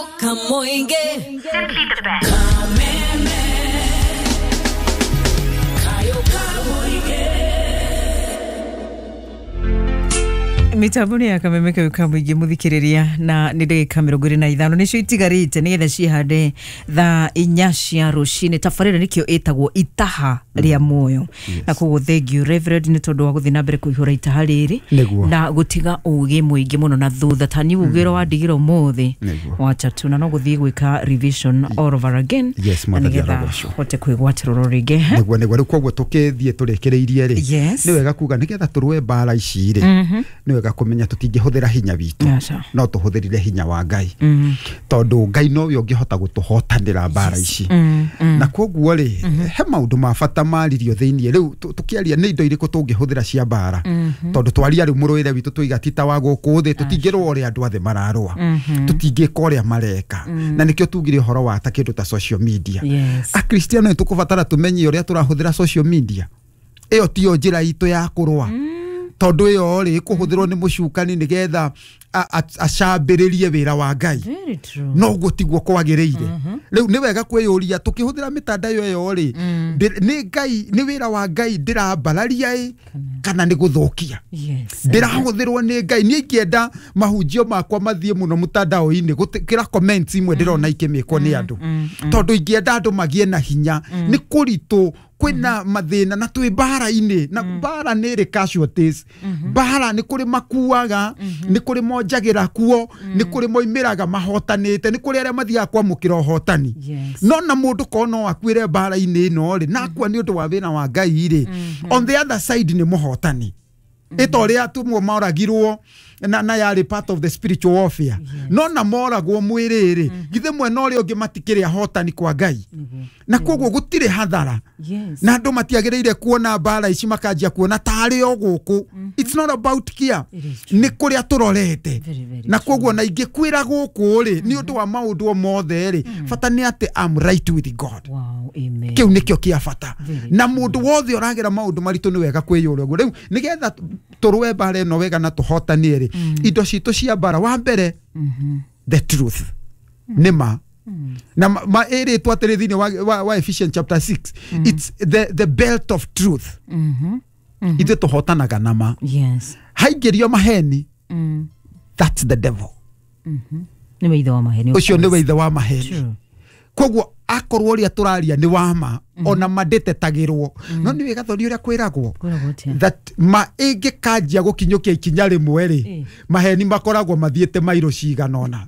Kamoinge. Simply the best. Kameme. Kayo kamoinge. Mitambo ya kameme kayo kamwingi muthikiriria na ni ndagika 25 nicio itigarite nigetha cihande thaa 4 cia rucini. Tabarĩra nikio ĩtagwo itaha rĩa muoyo. Na koguo thank you Reverend nĩ tondũ wa gũthiĩ na mbere kũihũra itaha rĩrĩ na gũtiga ũgĩ mũingĩ mũno na thutha ta ni ũgĩ ũrĩa wandigire ũmũthĩ wacha tu na no gũthiĩ gwĩka revision all over again. Yes, na Mwathani nĩgetha arogocwo. hote kwĩgwatĩra oro rĩngĩ. Nĩguo nĩguo rĩu koguo tũkĩthiĩ tũrĩkĩrĩirie rĩ, Yes. nĩ wega kuga nĩgetha tũrũe mbara ici rĩ, nĩ wega kũmenya tũtingĩhũthĩra hinya witũ, Aca. no tũhũthĩrire hinya wa Ngai, tondũ Ngai nowe ũngĩhota gũtũhotanĩra mbara ici. Na koguo rĩ, he maũndũ ma bata maririo thĩiniĩ. Rĩu tũkĩaria nĩ indo irĩkũ tũngĩhũthĩra cia mbara, tondũ twaria rĩu mũrũĩre witũ tũiga ti ta wa gũkũ thĩ, tũtingĩrũa ũrĩa andũ othe mararũa, tũtingĩka ũrĩa mareka, na nĩkĩo tugire ũhoro wa ta kĩndũ ta social media. Yes. Akristiano nĩ tũkũbatara tũmenye ũrĩa tũrahũthĩra social media. Ĩyo tiyo njĩra itũ ya kũrũa, tondũ ĩyo rĩ ĩkũhũthĩrwo nĩ mũcukani nĩgetha acambĩrĩrie wĩra wa Ngai. Very true. No ũguo tiguo kwagĩrĩire. Rĩu nĩ wega kwĩyũria tũkĩhũthĩra mĩtandao ĩyo rĩ, nĩ Ngai, nĩ wĩra wa Ngai ndĩrambararia ĩ kana nĩ gũthũkia? Yes. Ndĩrahũthĩrwo nĩ Ngai. Niĩ ingĩenda mahunjio makwa mathiĩ mũno mũtandao-inĩ gũkĩra comments imwe ndĩrona ikĩmĩkwo nĩ andũ, tondũ ingĩenda andũ magĩe na hinya. Nĩ kũritũ, kwĩna mathĩna na twĩ mbara-inĩ, na mbara nĩ ĩrĩ casualties. Mbara nĩ kũrĩ makuaga, nĩ kũrĩ monjagĩra kuo, nĩ kũrĩ moimĩraga mahotanĩte, nĩ kũrĩ arĩa mathiaga kwamũkĩra ũhotani. Yes. No na mũndũ korwo no akuĩre mbara-inĩ ĩno rĩ, na akua nĩ ũndũ wa wĩra wa Ngai rĩ, on the other side nĩ mũhotani. Ĩta ũrĩa atumwo moragirwo na yarĩ part of the spiritual warfare. No na moragwo mwĩrĩ rĩ, githĩ mwena ũrĩa ũngĩ matikĩrĩ ahotani kwa Ngai? Na koguo gũtirĩ hathara. Yes. Na andũ matiagĩrĩire kuona mbara ici makanjia kuona tarĩ o gũkũ. It's not about kia, It is true. nĩ kũrĩa tũrorete. Very, very Na true. koguo na ingĩkwĩra gũkũ rĩ, nĩ ũndũ wa maũndũ o mothe rĩ, bata nĩ atĩ I'm right with God. Wow, amen. Kĩu nĩkĩo kĩa bata. Very Na mũndũ wothe ũragera maũndũ maritũ nĩ wega kwĩyũria ũguo. Rĩu nĩgetha tũrũe mbara ĩno wega na tũhotanie rĩ, indo citũ cia mbara, wa mbere, the truth, nĩ ma. Na ma ĩrĩtwo atĩrĩ thĩinĩ wa Ephesians chapter 6, it's the belt of truth. Ithuĩ tũhotanaga na ma. Yes. Haingĩrio maheni, that's the devil. Nĩ weithe wa maheni. Of Ũcio nĩ course. weithe wa maheni. True. Koguo akorwo ũrĩa tũraria nĩ wa ma, ona mandĩtetagĩrwo, no nĩ wega thoni ũrĩa kwĩragwo Kwĩragwo atĩa? that ma ĩngĩkanjia gũkinyũkia ikinya rĩmwe rĩ, maheni makoragwo mathiĩte mairo cigana ũna.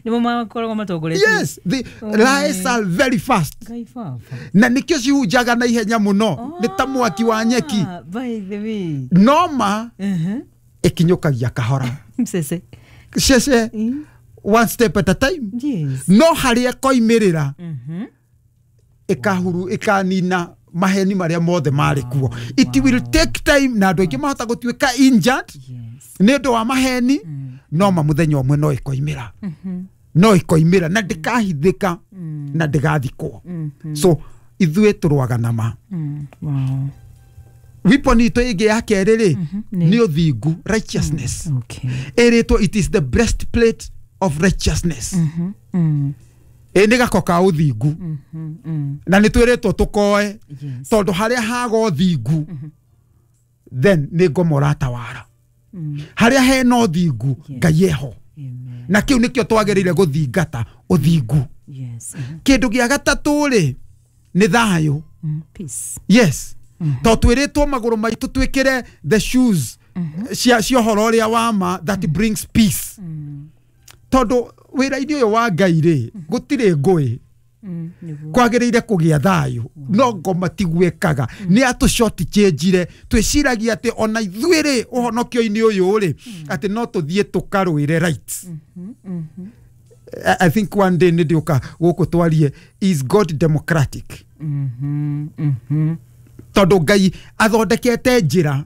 Nĩmo makoragwo matongoretie. Yes, the lies are very fast. Ngai baba. Na nĩkĩo cihunjaga na ihenya mũno, nĩ ta mwaki wa nyeki. Ah, by the way. No ma ĩkinyũkagia kahora. Mcece. Cece, one step at a time. Yes. No harĩa ĩkoimĩrĩra, ĩkahuru, ĩkanina maheni marĩa mothe marĩ kuo. It will take time, na andũ aingĩ mahota gũtuĩka injured Yes. nĩ ũndũ wa maheni, no ma mũthenya ũmwe no ĩkoimĩra, no ĩkoimĩra na ndĩkahithĩka na ndĩgathikwo. So ithuĩ tũrũaga na ma. Wow. Weapon itũ ĩngĩ ya kerĩ rĩ, Nĩ- nĩ ũthingu, righteousness. Okay. Ĩrĩtwo it is the breastplate of righteousness. Ĩ nĩ gako ka ũthingu, na nĩ twĩrĩtwo tũkoe, Yes. tondũ harĩa haga ũthingu, then nĩ ngoma ũratawara. Harĩa hena ũthingu, Ngai eho. Amen. Na kĩu nĩkĩo twagĩrĩire gũthingata, ũthingu. Yes. Kĩndũ gĩa gatatũ rĩ, nĩ thayũ. Peace. Yes, to twĩrĩtwo magũrũ maitũ twĩkĩre the shoes cia ũhoro ũrĩa wa ma that brings peace, tondũ wĩra-inĩ ũyũ wa Ngai rĩ, gũtirĩ ngũĩ. Nĩguo. Kwagĩrĩire kũgĩa thayũ, no ngoma tiguĩkaga. Nĩ atũ short change-ire. Twĩciragia atĩ ona ithuĩ rĩ, ũhonokio-inĩ ũyũ rĩ, atĩ no tũthiĩ tũkarũĩre rights. I think one day nĩ ndĩũka gũkũ twarie, is God democratic? Tondũ Ngai athondekete njĩra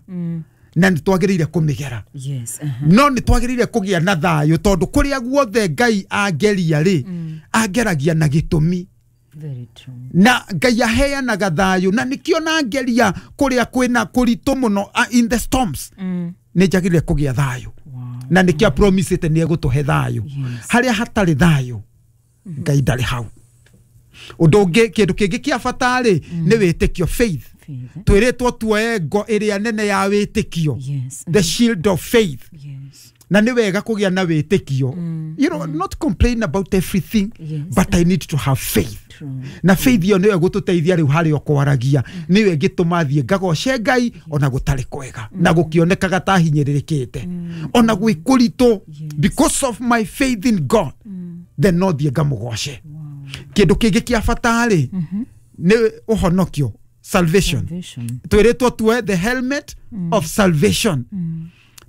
na nĩ twagĩrĩire kũmĩgera. Yes. No nĩ twagĩrĩire kũgĩa na thayũ, tondũ kũrĩa guothe Ngai angeria rĩ, angeragia na gĩtũmi. Very true. Na Ngai aheanaga thayũ, na nĩkĩo nangeria kũrĩa kwĩna kũritũ mũno, in the storms, nĩ njagĩrĩire kũgĩa thayũ. Wow. Na nĩkĩo apromisĩte nĩ egũtũhe thayũ. Yes. Harĩa hatarĩ thayũ, Ngai ndarĩ hau. Ũndũ ũngĩ, kĩndũ kĩngĩ kĩa bata rĩ, nĩ wĩtĩkio, faith. Faith. Twĩrĩtwo tuoe ngo ĩrĩa nene ya wĩtĩkio, Yes. the shield of faith. Yes. Na nĩ wega kũgĩa na wĩtĩkio, not complain about everything, Yes. but I need to have faith. True. Na faith ĩyo nĩyo ĩgũtũteithia rĩu harĩa ũkwaragia, nĩyo ĩngĩtũma thiĩ ngagoce Ngai ona gũtarĩ kwega na gũkĩonekaga ta hinyĩrĩrĩkĩte ona gwĩ kũritũ. Because of my faith in God, then no thiĩ ngamũgoce. Kĩndũ kĩngĩ kĩa bata rĩ, nĩ ũhonokio, salvation. Salvation. Twĩrĩtwo tuoe the helmet of salvation,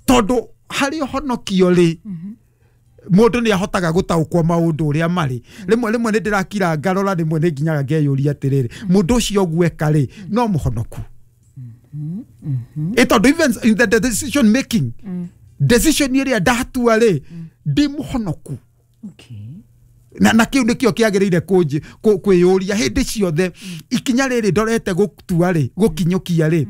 tondũ harĩ ũhonokio rĩ, mũndũ nĩ ahotaga gũtaũkwo maũndũ ũrĩa marĩ. Rĩmwe rĩmwe nĩ ndĩrakira ngarora, rĩmwe nĩ nginyaga ngeyũria atĩrĩrĩ, mũndũ ũcio gweka rĩ, no mũhonoku? Ĩ tondũ even in the decision making, decision ĩrĩa ndatua rĩ, ndĩ mũhonoku? Okay. Na kĩu nĩkĩo kĩagĩrĩire kwĩyũria hĩndĩ ciothe, ikinya rĩrĩ ndorete gũtua rĩ, gũkinyũkia rĩ,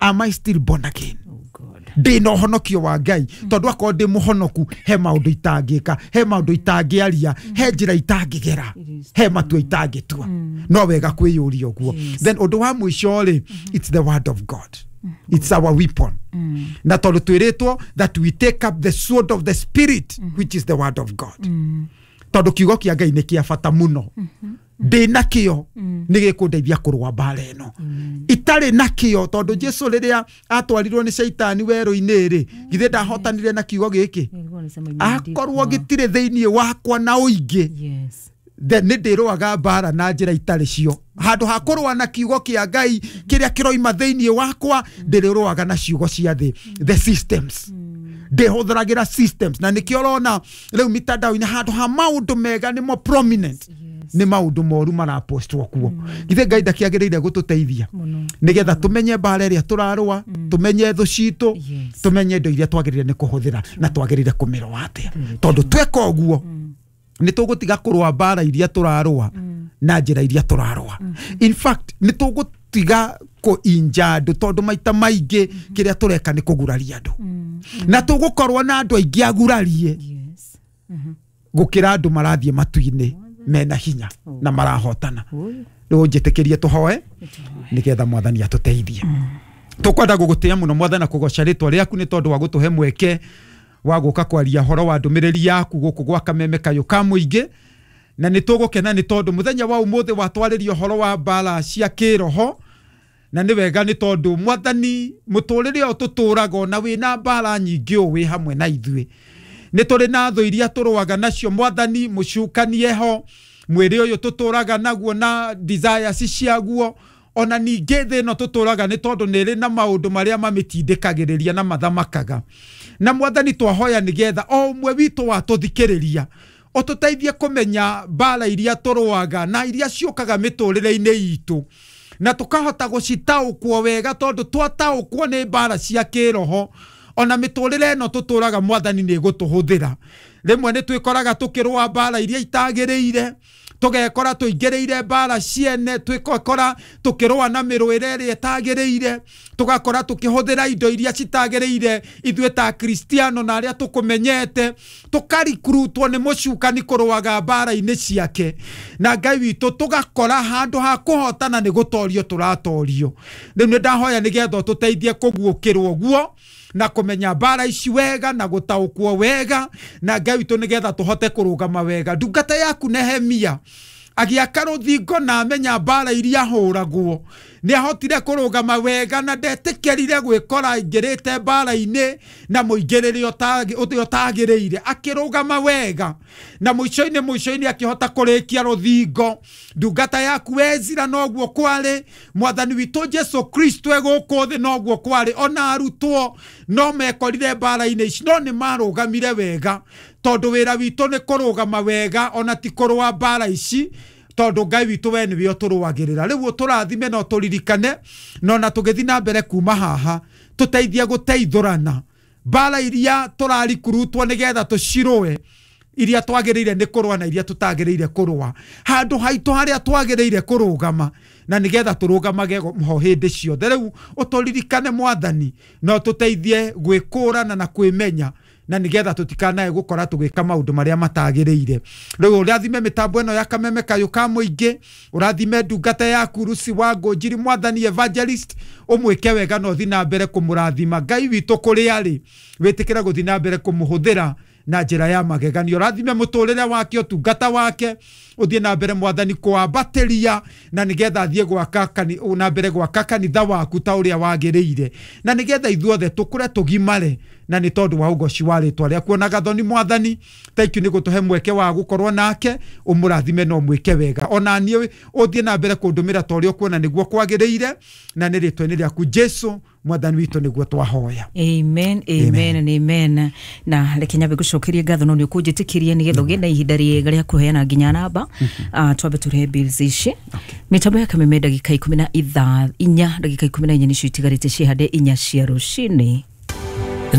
am I still born again? Oh God. Ndĩ na ũhonokio wa Ngai? Tondũ akorwo ndĩ mũhonoku, he maũndũ itangĩka, he maũndũ itangĩaria, he njĩra itangĩgera, It is he matua itangĩtua. No wega kwĩyũria ũguo. Then ũndũ wa mũico rĩ, it's the word of God. It's our weapon. Na tondũ twĩrĩtwo that we take up the sword of the spirit, which is the word of God, tondũ kiugo kĩa Ngai nĩ kĩa bata mũno. Ndĩ nakĩo nĩ gĩkũndeithia kũrũa mbara ĩno. Itarĩ nakĩo, tondũ Jesu rĩrĩa atwarirwo nĩ caitani werũ-inĩ rĩ, githĩ ndahotanire na kiugo gĩkĩ? Nilikuwa nasema imeandikwa. Akorwo gĩtirĩ thĩinĩ wakwa na ũingĩ, Yes. then nĩ ndĩrũaga mbara na njĩra itarĩ cio. Handũ ha kũrũa na kiugo kĩa Ngai kĩrĩa kĩroima thĩinĩ wakwa, ndĩrĩrũaga na ciugo cia thĩ, the systems. Ndĩhũthĩragĩra systems, na nĩkĩo ũrona rĩu mitandao-inĩ handũ ha maũndũ mega nĩmo prominent, nĩ maũndũ moru marapostwo kuo. Githĩ Ngai ndakĩagĩrĩire gũtũteithia Mũno. nĩgetha tũmenye mbara ĩrĩa tũrarũa, tũmenye thũ citũ, Yes. tũmenye indo iria twagĩrĩire nĩ kũhũthĩra na twagĩrĩire kũmĩrũa atĩa? Tondũ tweka ũguo, nĩ tũgũtiga kũrũa mbara iria tũrarũa na njĩra iria tũrarũa. In fact, nĩ tũgũtiga kũinja andũ, tondũ maita maingĩ kĩrĩa tũreka nĩ kũguraria andũ, na tũgũkorwo na andũ aingĩ agurarie Yes. gũkĩra andũ marathiĩ matu-inĩ mena hinya na marahotana. Oi. Rĩu njĩtĩkĩrie tũhoe nĩgetha Mwathani atũteithie. Tũkwenda gũgũtĩa mũno, Mwathani, na kũgoca rĩtwa rĩaku nĩ tondũ wa gũtũhe mweke wa gũka kwaria horo wa ndũmĩrĩri yaku gũkũ gwa Kameme Kayũ ka Mũingĩ. Na nĩ tũgũkena nĩ tondũ mũthenya wa ũmũthĩ watwarĩria ũhoro wa mbara cia kĩroho, na nĩ wega nĩ tondũ, Mwathani, mũtũrĩre ũyũ tũtũraga ona wĩna mbara nyingĩ ũũ, wĩ hamwe na ithuĩ. Nĩ tũrĩ na thũ iria tũrũaga nacio, Mwathani, mũcukanie ho, mwĩrĩ ũyũ tũtũraga naguo na desires ciaguo, ona ningĩ thĩ ĩno tũtũraga, nĩ tondũ nĩ ĩrĩ na maũndũ marĩa mamĩtindĩkagĩrĩria na mathamakaga. Na Mwathani, twahoya nĩgetha o ũmwe witũ watũthikĩrĩria ũtũteithie kũmenya mbara iria tũrũaga na iria ciũkaga mĩtũrĩre-inĩ itũ, na tũkahota gũcitaũkwo wega, tondũ twataũkwo nĩ mbara cia kĩroho, ona mĩtũrĩre ĩno tũtũraga, Mwathani, nĩ ĩgũtũhũthĩra. Rĩmwe nĩ twĩkoraga tũkĩrũa mbara iria itagĩrĩire, tũgekora tũingĩrĩire mbara ciene, twĩkora tũkĩrũa na mĩrũĩre ĩrĩa ĩtagĩrĩire, tũgakora tũkĩhũthĩra indo iria citagĩrĩire ithuĩ ta Kristiano na arĩa tũkũmenyete, tũkarikurutwo nĩ mũcukani kũrũaga mbara-inĩ ciake. Na Ngai witũ, tũgakora handũ ha kũhotana nĩ gũtorio tũratorio. Rĩu nĩ ndahoya nĩgetha ũtũteithie kũguũkĩrwo ũguo na kũmenya mbara ici wega na gũtaũkwo wega, na Ngai witũ, nĩgetha tũhote kũrũgama wega. Ndungata yaku Nehemia agĩaka rũthingo na amenya mbara iria ahũragwo, nĩ ahotire kũrũgama wega na ndetĩkĩrire gwĩkora aingĩrĩte mbara-inĩ na mũingĩrĩre ũrĩa ũtagĩrĩire. Akĩrũgama wega na mũico-inĩ mũico-inĩ akĩhota kũrĩkia rũthingo. Ndungata yaku Ezira noguo kwarĩ. Mwathani witũ Jesu Kristo e gũkũ thĩ noguo kwarĩ. Ona arutwo no mekorire mbara-inĩ ici, no nĩ marũgamire wega, tondũ wĩra witũ nĩ kũrũgama wega, ona ti kũrũa mbara ici, tondũ Ngai witũ we nĩwe ũtũrũagĩrĩra. Rĩu ũtũrathime na ũtũririkane, na ona tũgĩthiĩ na mbere kuma haha, tũteithie gũteithũrana mbara iria tũrarikurutwo nĩgetha tũcirũe, iria twagĩrĩire nĩ kũrũa na iria tũtagĩrĩire kũrũa, handũ haitũ harĩa twagĩrĩire kũrũgama, na nĩgetha tũrũgamage ho hĩndĩ ciothe. Rĩu ũtũririkane, Mwathani, na ũtũteithie gwĩkũrana na kwĩmenya. na nigetha tutikanae gukora tugika maundu maria matagiriire. Riu urathime mitambo ino ya Kameme Kayũ ka Mũingĩ, urathime ndungata yaku Lucy wa Ngũnjiri, Mwathani evangelist, umwike wega na uthi na mbere kumurathima. Ngai witũ kũrĩa arĩ, wĩtĩkĩre gũthiĩ na mbere kũmũhũthĩra na njĩra ya mageganio. Ũrathime mũtũrĩre wake, ũtungata wake, ũthiĩ na mbere Mwathani kũambatĩria, na nĩgetha athiĩ gwaka na mbere gwaka kanitha waku ta ũrĩa wagĩrĩire, na nĩgetha ithuothe tũkũre tũgimare, na nĩ tondũ wa ũgoci wa rĩtwa rĩaku. Ona gathoni Mwathani, thank you nĩ gũtũhe mweke wa gũkorwo nake, ũmũrathime na ũmwĩke wega. Ona niĩ ũthiĩ na mbere kũndũmĩra ta ũrĩa ũkuona nĩguo kwagĩrĩire, na nĩ rĩtwa-inĩ rĩaku Jesu Mwathani witũ nĩguo twahoya. Amen, amen, amen, amen. Na reke nyambe ngũcokerie ngatho no nĩ ũkũnjĩtĩkĩria nĩgetha ũgĩe na ihinda rĩega rĩa kũheana nginya namba. Twambe tũrehe bills ici. Mĩtambo ya Kameme ndagĩka 14, ndagĩka 14 nĩcio itigarĩte cihande 4 cia rũcinĩ.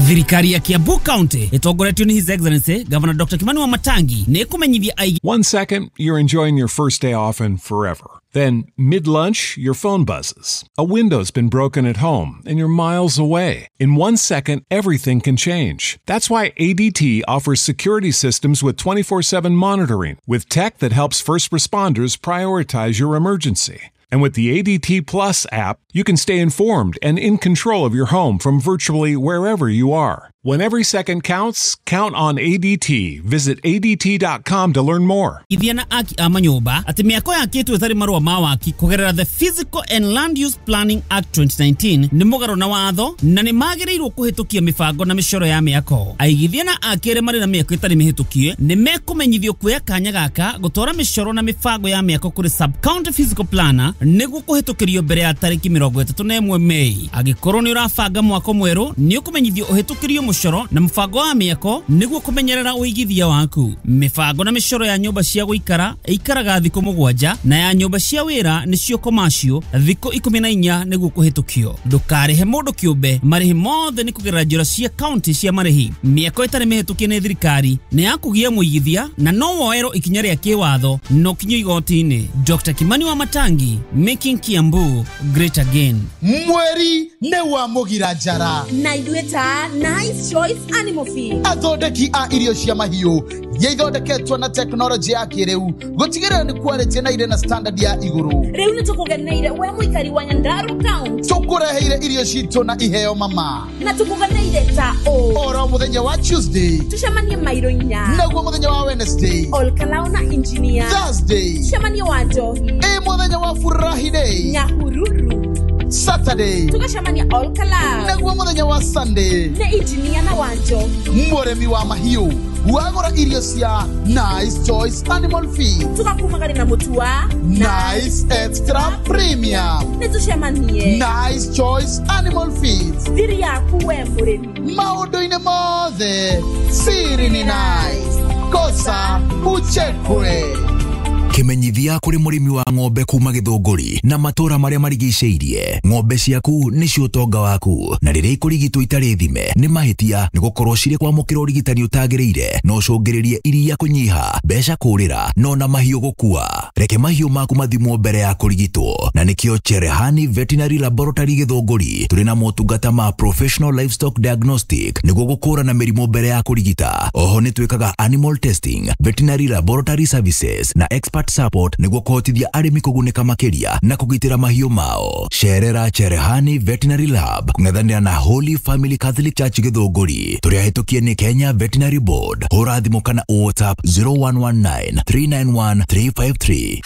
Thirikari ya Kiambu County ĩtongoretio nĩ His Excellency Governor Dr. Kimani Wamatangi nĩ ĩkũmenyithia aigi. 1 second, you're enjoying your first day off and forever. Then, mid-lunch, your phone buzzes. A window's been broken at home, and you're miles away. In 1 second, everything can change. That's why ADT offers security systems with 24/7 monitoring, with tech that helps first responders prioritize your emergency. And with the ADT Plus app, you can stay informed and in control of your home from virtually wherever you are. When every second counts, count on ADT. Visit ADT.com to learn more. Ithia na aki a manyũmba atĩ mĩako yakĩtwo ĩtarĩ marũa ma waki kũgerera the Physical and Land Use Planning Act 2019 nĩ mũgarũ na watho na nĩ magĩrĩirwo kũhĩtũkia mĩbango na mĩcoro ya mĩako. Aigithia na aki arĩa marĩ na mĩako ĩtarĩ mĩhĩtũkie nĩ mekũmenyithio kuoya kanya gaka gũtwara mĩcoro na mĩbango ya mĩako kũrĩ sub-county physical planner nĩguo kũhĩtũkĩrio mbere ya tarĩki 31 Mei. Angĩkorwo nĩ ũrabanga mwako mwerũ nĩ ũkũmenyithio ũhĩtũkĩrio mũcoro na mũbango wa mĩako nĩguo kũmenyerera ũigithia waku. Mĩbango na mĩcoro ya nyũmba cia gũikara ĩikaraga thikũ 7 na ya nyũmba cia wĩra nĩcio commercial thikũ 14 nĩguo kũhĩtũkio. Ndũkarĩhe mũndũ kĩũmbe, marĩhi mothe nĩ kũgerera njĩra cia county cia marĩhi. Mĩako ĩtarĩ mĩhĩtũkie nĩ thirikari nĩ ya kũgia mũigithia na no woerwo ikinya rĩa kĩwatho no kinyo igoti-inĩ. Dr. Kimani Wamatangi, making Kiambu great again. Mweri nĩ wa mũgira njara na ithuĩ ta Nice Choice Animal Feed, athondeki a irio cia mahiũ iria ithondeketwo na tekinoronjĩ ya kĩrĩu gũtigĩrĩra nĩ quality na irĩ na standard ya igũrũ. Rĩu nĩ tũkũgeneire we mũikari wa Nyandarua County, tũkũreheire irio citũ na iheo mama, na tũkũgeneire ta ũ oro mũthenya wa Tuesday tũcemanie mairo 4, naguo mũthenya wa Wednesday Olkalao na engineer, Thursday tũcemanie wa Njohi, ĩ mũthenya wa Friday Nyahururu, Saturday tũgacemania Olkalao, naguo mũthenya wa Sunday nĩ engineer na wa Njohi. Mũrĩmi wa mahiũ wagũra irio cia Nice Choice Animal Feed tũgakumagari na mũtu wa Nice Extra Premium. Nĩ tũcemanie Nice Choice Animal Feed, thiri yaku we mũrĩmi maũndũ-inĩ mothe siri ni nice, kosa uchekwe. Kimenyithia kuri murimi wa ng'ombe kuma Githunguri na matura maria marigicĩirie. Ng'ombe ciaku nĩcio ũtonga waku, na rĩrĩa ikũrigitwo itarĩ thime nĩ mahĩtia, nĩ gũkorwo cirĩ kwamũkĩra ũrigitani ũtagĩrĩire no ũcũngĩrĩrie iria kũnyiha, mbeca kũrĩra, no na mahiũ gũkua. Reke mahiũ maku mathimwo mbere ya kũrigitwo, na nĩkĩo Cherehani Veterinary Laboratory Githunguri tũrĩ na motungata ma professional livestock diagnostic nĩguo gũkũrana mĩrimũ mbere ya kũrigita. Oho nĩ twĩkaga animal testing, veterinary laboratory services na expert support nĩguo kũhotithia arĩmi kũgunĩka makĩria na kũgitĩra mahiũ mao. Cerera Cherehani Veterinary Lab kũng'ethanĩra na Holy Family Catholic Church Githunguri. Tũrĩ ahĩtũkie nĩ Kenya Veterinary Board. Hũra thimũ kana WhatsApp 0119 391 353.